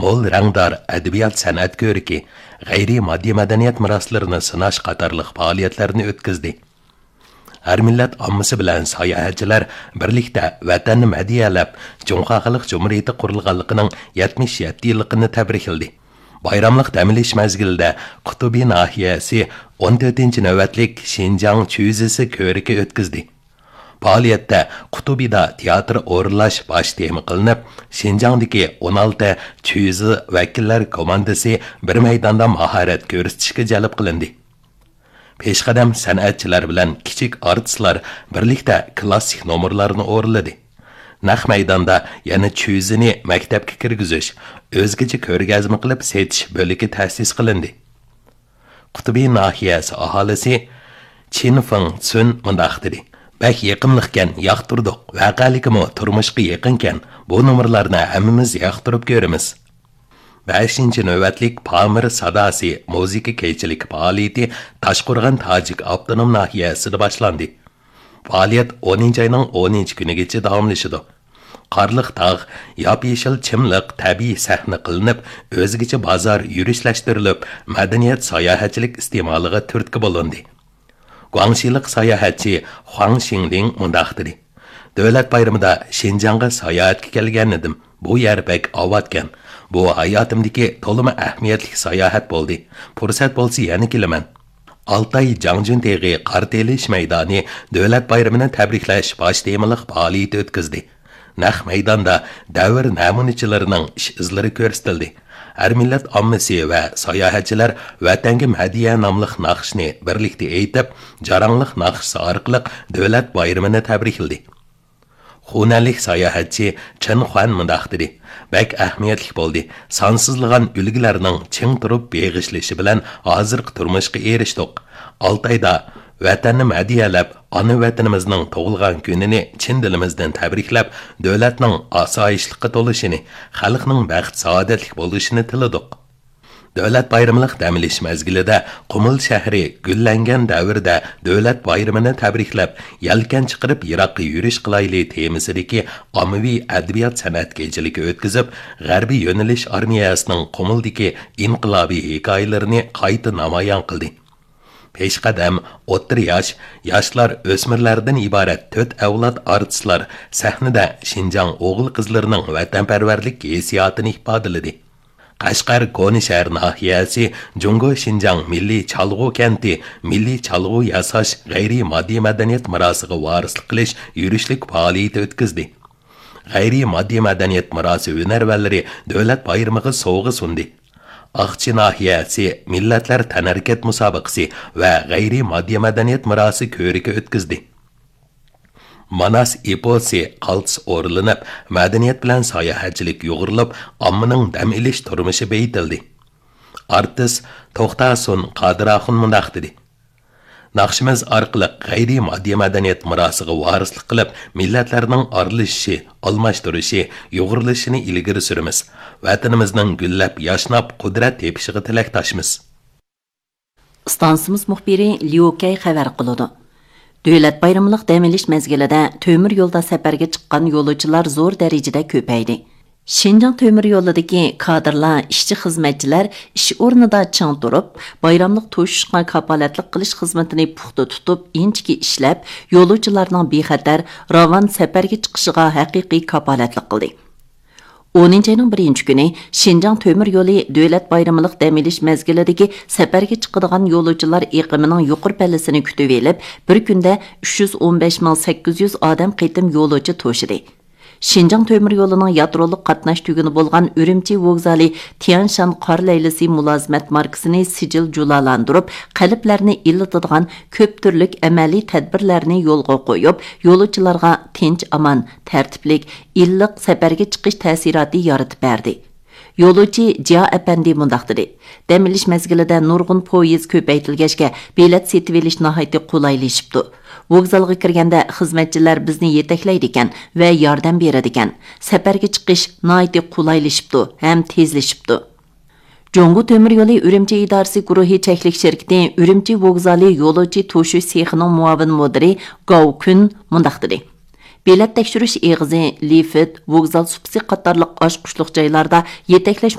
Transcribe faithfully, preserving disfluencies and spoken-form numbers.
مول رەڭدار ئەدەبىيات سەنئەت كۆرىكى، غەيرىي ماددىي مەدەنىيەت مىراسلىرىنى سىناش قاتارلىق پائالىيەتلەرنى ئۆتكۈزدى. ھەر مىللەت ئاممىسى بىلەن ساياھەتچىلەر بىرلىكتە ۋەتەننى مەدھىيەلەپ، جۇڭخۇا خەلق جۇمھۇرىيىتى قۇرۇلغانلىقىنىڭ يەتمىش يەتتە يىللىقىنى تەبرىكلىدى. بايراملىق دەم ئېلىش مەزگىلىدە قۇتۇبى ناھىيەسى ئون تۆتىنچى نۆۋەتلىك شىنجاڭ چۈزىسى كۆرىكى ئۆتكۈزدى. پائالىيەتتە قۇتۇبىدا تىياتىر ئورۇنلاش باش تېما قىلىنىپ، شىنجاڭدىكى ئون ئالتە چۈزى ۋەكىللەر كوماندىسى بىر مەيداندا ماھارەت كۆرسىتىشكە جەلپ قىلىندى. پېشقەدەم سەنئەتچىلەر بىلەن كىچىك ئارتىسلار بىرلىكتە كىلاسسىك نومۇرلارنى ئورۇنلىدى. نەق مەيداندا يەنە چۈزىنى مەكتەپكە كىرگۈزۈش، ئۆزگىچە كۆرگەزمە قىلىپ سېتىش بۆلىكى تەسىس قىلىندى. قۇتۇبى ناھىيەسى ئاھالىسى چىن فېڭ سۈن مۇنداق دېدى: «بەك يېقىملىقكەن، ياقتۇردۇق. ۋەقەلىكىمۇ تۇرمۇشقا يېقىنكەن، بۇ نومۇرلارنى ھەممىمىز ياقتۇرۇپ كۆرىمىز.» بەشىنچى نۆۋەتلىك پامىر ساداسى مۇزىكا كېچىلىك پائالىيىتى تاشقورغان تاجىك ئاپتونوم ناھىيەسىدە باشلاندى. پائالىيەت ئونىنچى ئاينىڭ ئونىنچى كۈنىگىچە داۋاملىشىدۇ. قارلىق تاغ، ياپيېشىل چىملىق تەبىئىي سەھنە قىلىنىپ، ئۆزگىچە بازار يۈرۈشلەشتۈرۈلۈپ، مەدەنىيەت ساياھەتچىلىك ئىستېمالىغا تۈرتكە بولۇندى. گۇاڭشىلىق ساياھەتچى خۇاڭ شىڭلىڭ مۇنداق دېدى: «دۆلەت بايرىمىدا شىنجاڭغا ساياھەتكە كەلگەنىدىم. بۇ يەر بەك ئاۋاتكەن. بۇ ھاياتىمدىكى تولىمۇ ئەھمىيەتلىك ساياھەت بولدى. پۇرسەت بولسا يەنە كېلىمەن.» ئالتاي جاڭجۈن تېغى قار تېلىش مەيدانى دۆلەت بايرىمىنى تەبرىكلەش باش تېمىلىق پائالىيىتى ئۆتكۈزدى. نەق مەيداندا دەۋر نەمۇنىچىلىرىنىڭ ئىش ئىزلىرى كۆرسىتىلدى. ھەر مىللەت ئاممىسى ۋە ساياھەتچىلەر ۋەتەنگە مەدھىيە ناملىق ناخشىنى بىرلىكتە ئېيتىپ، جاراڭلىق ناخشىسى ئارقىلىق دۆلەت بايرىمىنى تەبرىكلىدى. خۇنەنلىك ساياھەتچى چېن خۇەن مۇنداق دېدى: «بەك ئەھمىيەتلىك بولدى. سانسىزلىغان ئۈلگىلەرنىڭ چىڭ تۇرۇپ بېغىشلىشى بىلەن ھازىرقى تۇرمۇشقا ئېرىشتۇق. ئالتايدا ۋەتەننى مەدھىيەلەپ، ئانا ۋەتىنىمىزنىڭ تۇغۇلغان كۈنىنى چىن دىلىمىزدىن تەبرىكلەپ، دۆلەتنىڭ ئاسايىشلىققا تولۇشىنى، خەلقنىڭ بەخت-سائادەتلىك بولۇشىنى تىلىدۇق.» دۆلەت بايرىملىق دەم ئېلىش مەزگىلىدە قۇمۇل شەھىرى گۈللەنگەن دەۋردە دۆلەت بايرىمىنى تەبرىكلەپ، يەلكەن چىقىرىپ يىراققا يۈرۈش قىلايلى تېمىسىدىكى ئاممىۋى ئەدەبىيات سەنئەت كېچىلىكى ئۆتكۈزۈپ، غەربىي يۆنىلىش ئارمىيەسىنىڭ قۇمۇلدىكى ئىنقىلابىي ھېكايىلىرىنى قايتا نامايان قىلدى. پېشقەدەم، ئوتتۇرا ياش، ياشلار، ئۆسمۈرلەردىن ئىبارەت تۆت ئەۋلاد ئارتىسلار سەھنىدە شىنجاڭ ئوغۇل-قىزلىرىنىڭ ۋەتەنپەرۋەرلىك ھېسسىياتىنى ئىپادىلىدى. قەشقەر كونا شەھەر ناھىيەسى جۇڭگو شىنجاڭ مىللىي چالغۇ كەنتى مىللىي چالغۇ ياساش غەيرىي ماددىي مەدەنىيەت مىراسىغا ۋارىسلىق قىلىش يۈرۈشلۈك پائالىيىتى ئۆتكۈزدى. غەيرىي ماددىي مەدەنىيەت مىراسى ھۈنەرۋەنلىرى دۆلەت بايرىمىغا سوۋغا سۇندى. ئاقچى ناھىيەسى مىللەتلەر تەنھەرىكەت مۇسابىقىسى ۋە غەيرىي ماددىي مەدەنىيەت مىراسى كۆرىكى ئۆتكۈزدى. ماناس ئېپوسى قالتىس ئورۇنلىنىپ، مەدەنىيەت بىلەن ساياھەتچىلىك يۇغۇرۇلۇپ، ئاممىنىڭ دەم ئېلىش تۇرمۇشى بېيىتىلدى. ئارتىس توختاسۇن قادىر ئاخۇن مۇنداق دېدى: «ناخشىمىز ئارقىلىق غەيرىي ماددىي مەدەنىيەت مىراسىغا ۋارىسلىق قىلىپ، مىللەتلەرنىڭ ئارىلىشىشى، ئالماشتۇرۇشى، يۇغۇرۇلۇشىنى ئىلگىرى سۈرىمىز. ۋەتىنىمىزنىڭ گۈللەپ ياشناپ، قۇدرەت تېپىشىغا تىلەكداشمىز.» ئىستانسىمىز مۇخبىرى ليۇ كەي خەۋەر قىلىدۇ. دۆلەت بايرىملىق دەم ئېلىش مەزگىلىدە تۆمۈر يولدا سەپەرگە چىققان يولۇچىلار زور دەرىجىدە كۆپەيدى. شىنجاڭ تۆمۈر يولىدىكى كادىرلار، ئىشچى-خىزمەتچىلەر ئىش ئورنىدا چىڭ تۇرۇپ، بايراملىق توشۇشقا كاپالەتلىك قىلىش خىزمىتىنى پۇختا تۇتۇپ، ئىنچىكە ئىشلەپ، يولۇچىلارنىڭ بىخەتەر، راۋان سەپەرگە چىقىشىغا ھەقىقىي كاپالەتلىك قىلدى. ئونىنچى ئاينىڭ بىرىنچى كۈنى شىنجاڭ تۆمۈر يولى دۆلەت بايرىملىق دەم ئېلىش مەزگىلىدىكى سەپەرگە چىقىدىغان يولۇچىلار ئېقىمىنىڭ يۇقىرى پەللىسىنى كۈتۈۋېلىپ، بىر كۈندە ئۈچ يۈز ئون بەش مىڭ سەككىز يۈز ئادەم قېتىم يولۇچى توشىدى. شىنجاڭ تۆمۈر يولىنىڭ يادرولۇق قاتناش تۈگۈنى بولغان ئۈرۈمچى ۋوگزالى تيەنشان قار لەيلىسى مۇلازىمەت ماركىسىنى سىجىل جۇلالاندۇرۇپ، قەلبلەرنى ئىللىتىدىغان كۆپ تۈرلۈك ئەمەلىي تەدبىرلەرنى يولغا قويۇپ، يولۇچىلارغا تىنچ-ئامان، تەرتىپلىك، ئىللىق سەپەرگە چىقىش تەسىراتى يارىتىپ بەردى. يولۇچى جيا ئەپەندى مۇنداق دېدى: «دەم ئېلىش مەزگىلىدە نۇرغۇن پويىز كۆپەيتىلگەچكە، بېلەت سېتىۋېلىش ناھايىتى قولايلىشىپتۇ. ۋوگزالغا كىرگەندە خىزمەتچىلەر بىزنى يېتەكلەيدىكەن ۋە ياردەم بېرىدىكەن. سەپەرگە چىقىش ناھايىتى قولايلىشىپتۇ ھەم تېزلىشىپتۇ.» جۇڭگو تۆمۈر يولى ئۈرۈمچى ئىدارىسى گۇرۇھى چەكلىك شىركىتى ئۈرۈمچى ۋوگزالى يولۇچى توشۇش سېخىنىڭ مۇئاۋىن مۇدىرى گاۋ كۈن مۇنداق دېدى: «بېلەت تەكشۈرۈش ئېغىزى، لىفىت، ۋوگزال سۇپىسى قاتارلىق ئاچقۇچلۇق جايلاردا يېتەكلەش